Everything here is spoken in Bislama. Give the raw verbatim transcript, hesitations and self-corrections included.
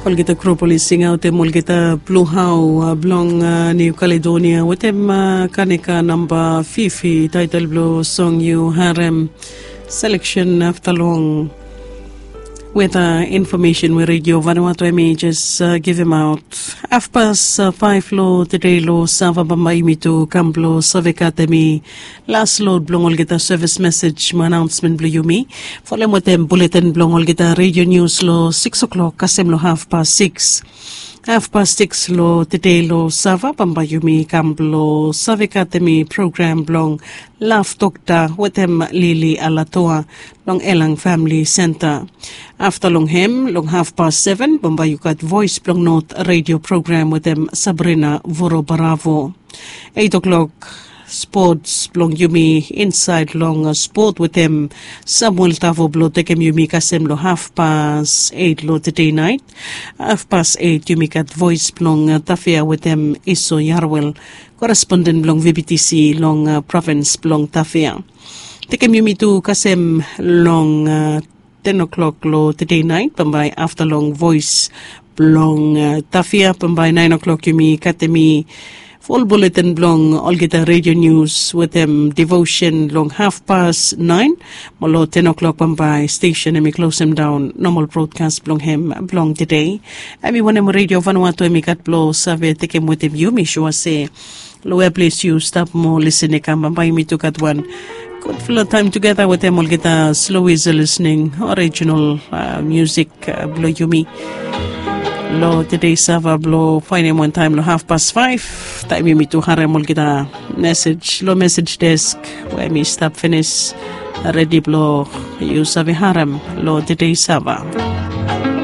Olgeta grup oli singaotem olgeta blu hao blong Niu Kaledonia wetem kanika namba fifi, taetel blong song yu harem, seleksen afta long weta infomesen we Redio Vanuatu em i jes givim aot. Hafpas faef long tede long sava bambae yumi tu kam blong save katem i las lod blong olgeta sevis mesej mo anaonsmen blong yumi. Folem wetem buletin blong olgeta redio nius long sikis oklok kasem long hafpas sikis. Hafpas sikis long tede long sava bambae yumi kam blong save katem i program blong Laf Dokta wetem Lili Alatoa long Elang Famili Senta. Afta long hem long hafpas seven bambae yu gat Voes blong Not redio program wetem Sabrina Vorobaravo. Eit oklok spots blong yumi insaed long spot wetem Samuel Tavo blong tekem yumi kasem long hafpas eit long tede naet. Hafpas eit yumi gat Voes blong Tafea wetem Iso Yarwel, koresponden blong V B T C long provins blong Tafea. Tekem yumi tu kasem long ten oklok long tede naet bambae afta long Voes blong Tafea bambae naen oklok yumi katem i fol buletin blong olgeta redio nius wetem devosen long hafpas naen. Mo long ten oklok bambae stesen em i klosem daon nomal brodkas blong hem blong tede. Em i wanem Redio Vanuatu em i gat blong save tekem wetem yumi sua se long wea ples yu stap mo lisin i kam bambae yumi tu gat wan gudfala taem tugeta wetem olgeta slo wisa lisning orijinal musik blong yumi. Long tede sava blong faenem wantaem long hafpas faef taem yumi tu harem olgeta mesej long mesej desk we mi stap finis redi blong yu save harem long tede sava.